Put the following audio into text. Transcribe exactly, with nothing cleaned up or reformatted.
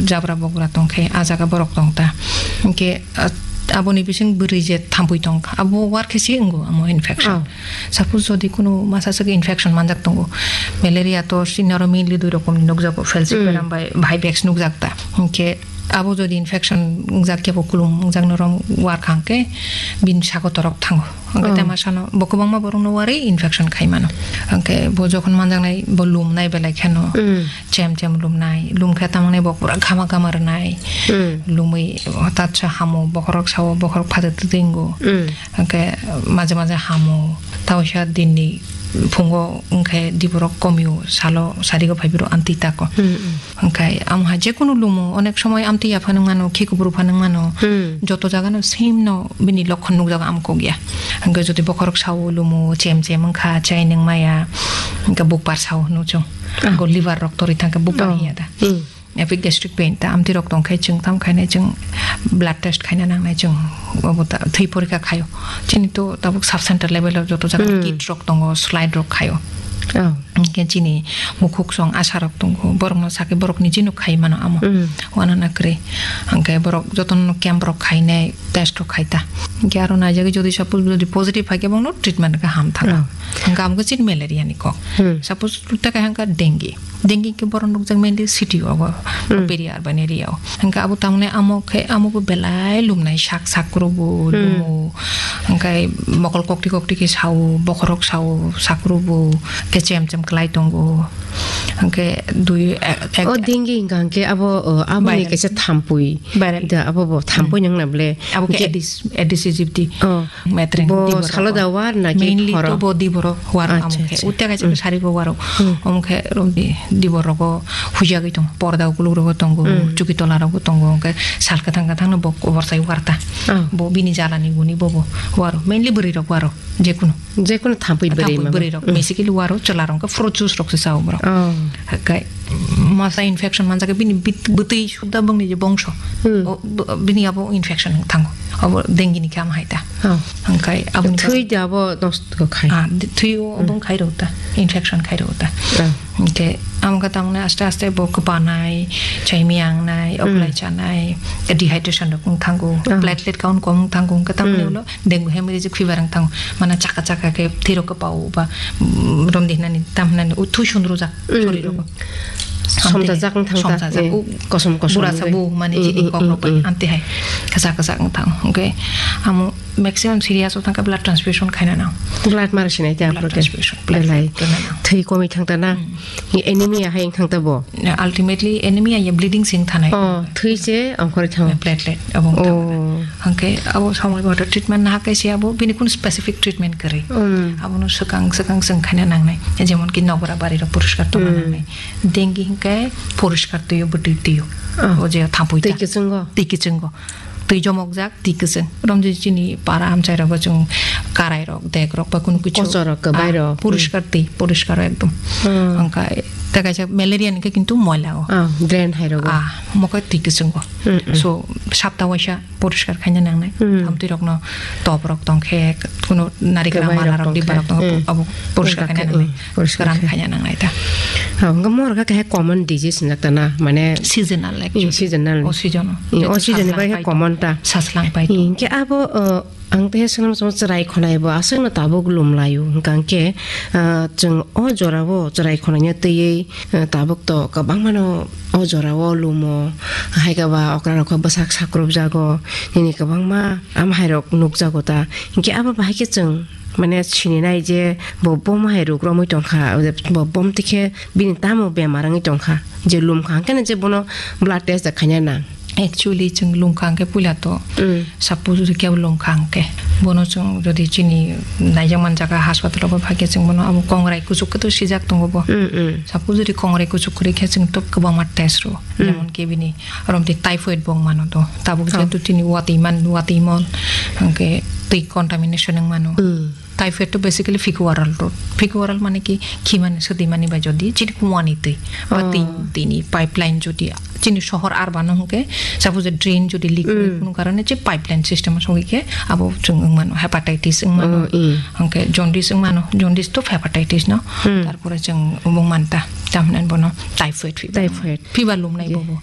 jabra bogra tong khe, ah jaga borok tong ta. Hinkhe, ah, aboni bising bwrwi je thampui tong kha, abo war khe se wngo amo infection. Oh. Suppose jodi kunu masa swk infection manjak tongo, malaria to chini oro mainly dui rokomni nukjago, falciparum Mm. bai vivax nukjak ta. Hinkhe abo jodi infection wngjak khe bo kulum wngjak norok war kha hinkhe bini sago torok thango. Hinkhe Oh. tei masano bo kwbangma borokno warwi infection khai mano. Hinkhe bo jokhon manjaknai bo lumnai belai kheno Mm. chem chem lumnai, lum khe tamni bo pura ghama ghama rwnai. Mm. Lumwi hwtatsa hamo, bokhorok sao, bokhorok phatar twtwi wngo. Mm. Hinkhe maje maje hamo, taoisa dinni phungo wngkhe diborok komio, salo sarigo phaiphuru amtwi tako. Mm, mm. Hinkhe amha jekunu lumo, onek somoi amtwi yaphano wngmano, khikubru phano wngmano, Hmm. joto jagano same no bini lokhon nukjago, amkok ya. Hinkhe jodi bokhorok sao lumo, chem chem wngkha, chai nung maya, hinkhe bukpar sao hwnwi chwng. Ah. Hinkhe liver rok torwi thangkhe bukpar Oh. hiya da. Hmm. Epigastric pain ta amtwi rok tongkhe chwng tam khainai chwng blood test khaina nangnai chwng obo ta thwi porikha khaio. Chini to tabuk sub center level o joto jaga Hmm. kit rok tongo, slide rok khaio. Oh. Hinkhe chini mukhuk song asha rok tongo, borokno sakhe borokni jino khai mano amo. Mm. Wanana kwrwi. Hinkhe borok jotono camp rok khainai, test rok khai ta. Hinkhe aro naijagwi jodi suppose jodi positive hai khe bongno treatment khe ham thang. Oh. Hinkhe amo khe chini malaria ni kok. Hmm. Suppose tei kaisa hinkhe dengue. Dengue khe borok nukjak mainly city o, Hmm. peri urban area o. Hinkhe abo tamni amo khe, amo bo belai lumnai sak sak kuro bo Hmm. lumo. Hinkhe mokol kokti kokti khe sao, bokhorok sao, sak kuro bo khe chem chem klai tongo. Hinkhe dui, ek, ek, O dengue hinkha hinkhe abo, o, aboni Viral. kaisa thampui. Viral. Da abo bo thampui Hmm. nang na ble. Abo khe Hinkhe Aedes, Aedes aegypti. Oh. Metreng Bo diborok salo o. Da war na ki Mainly phoro? To bo diborok war Acha, amo khe. Acha. Utia kaisa Hmm. sari bo waro. Hmm. Omo khe rom di, diborok o huijagwi tongo. Porda ukuluk rogo tongo, Hmm. chuki tola rogo tongo. Omo khe sal kwthang kwthang no bo koborsai warta. Oh. Bo bini jalani guni bo bo waro. Mainly bwrwi rok waro. Jekunu. Jekunu thampui bwrwi Thampui ma bo. Bwrwi rok. Hmm. Basically waro chwla rok khe fruit juice rok se sao borok. Oh. Hakai masa infection manjak bini bit-, bwtwi sudda bongni je bongso. Hmm. O, b-, bini abo infection thango. Abo dengue ni khe amo hai ta. Oh. Hingkai abo ni Thwi da abo nosto khai. Ah, di-, thwi o Hmm. bong khai rw ta. Infection khai rw ta. Oh. Hingke amo khe tamni aste aste bo kwpanai, chai miyangnai, Hmm. oklai chanai, dehydration rok wng thango, Oh. platelet count kom wng thango, hingke tamni Hmm. ulo dengue hemorrhagic fever wng thango. Mana chaka chaka khe thwi rok kwpao ba, mm, romdi hinani tam hinani u thwi sundrujak Mm, sori mm. rogo. Somjajak wng thang ta, Somjajak. Eh, U kosom kosom bura sa wngwi. Bu mani Mm, chini mm, kok mm, rok bai mm. Amte hai kwchak kwchak wng thang. Hwnkhe amo maximum serious wng thang khe blood transfusion khaina nang. Blood mari sinai te Blood aphuru khe. Transfusion, blood Belai. Khaina nang. Thwi komwi thang ta na? Mm. Anemia hai wng thang ta bo? Ultimately anemia ya bleeding sing thanai. Oh, thwi se ongkhorwi thango. Platelet abo wng thang. Oh. Hwnkhe abo somoi bodo treatment naha kaisa abo bini kun specific treatment kwrwi. Mm. Abono swkang swkang chwng khaina nangnai. Jemon ki nokra bari rok poriskar tongna Mm. nangnai. Dengue hwnkhe poriskar twiyo, bwtwi twiyo. Oh. O je thampui Twi ta. Kwchwngo? Twi kwchwngo. Twi jomokjak, twi kwchwng. Romjui chini para amchai rogo chwng karai rok, dek rok ba kunu kichu. Kochor rok, kwbai Ah, rok. Poriskar twi, poriskar ekdom. Hmm. Hwnkhe tei kaisa malaria ni khe kintu moila o. Ah, drain hai rogo. Ah, mokhe twi kwchwngo. Hmm, hmm. So, sapta waisa poriskar khaina nangnai. Hmm. Amtwi rokno top rok tongkhe, kuno narikra Kwbai mala rok rok, diba tongkhe. Rok tongkhe, Hmm. abo poriskar Tongkhe, khaina nangnai. Hmm, poriskar Kwran khe. Khaina nangnai ta. Ha, hwnkhe morga khe common disease hinjak ta na, mane Seasonal Hmm, actually. Seasonal. O season o. Hmm, o Jeto season ni sajlang bai khe pai common tong. Ta. Sajlang pai Hmm, tong. Hwnkhe abo, uh, ang tei swnam swnam chwrai khonai bo aswkno tabuk lum laio. Hwnkhe, uh, chwng o jorao chwrai khonaino twiwi, uh, tabuk to kwbangmano o jorao lumo, hai khe ba okra rok khe bwsak sakrupjago, nini kwbangma amhai rok nukjago ta. Hinkhe abo bahai khe chwng mane sininai je bo bom hai ruk romwi tongkha, bo bom tikhe bini tamo bemar wngwi tongkha, je lumkha hwnkhe je bono blood test da khaina nang. Actually, chwng lumkha hwnkhe puila to Mm. Suppose jodi kebo lumkha hwnkhe, bono chwng jodi chini naijak man jaga hospital o phai khe chwng bono abo kongrai kuchuk khe to sijak tongo bo. Mm, mm. Suppose jodi kongrai kuchuk kwrwi khe chwng to kwbangma test rwo. Mm. Jemon ki bini romtwi typhoid bo wng mano to. Tabuk Oh. Jehetu chini watwi man, watwi mon, hwnkhe twi contamination wng mano. Mm. Typhoid to basically fecal oral route. Fecal oral mane ki khimani, swtwimani bai jodi chini kuani twi ba Oh. twi, twini pipeline jodi chini sohor urban o hwnkhe, suppose drain jodi leak Mm. kunu karone je pipeline system o sogwi khe abo chwng wng mano, hepatitis wng mano, Oh, mm. Hwnkhe jaundice wng mano, jaundice to hepatitis no, Mm. Tarpore chwng wng manta, tamhinani bono typhoid fever. Typhoid. Fever lumnai Ye. Bobo.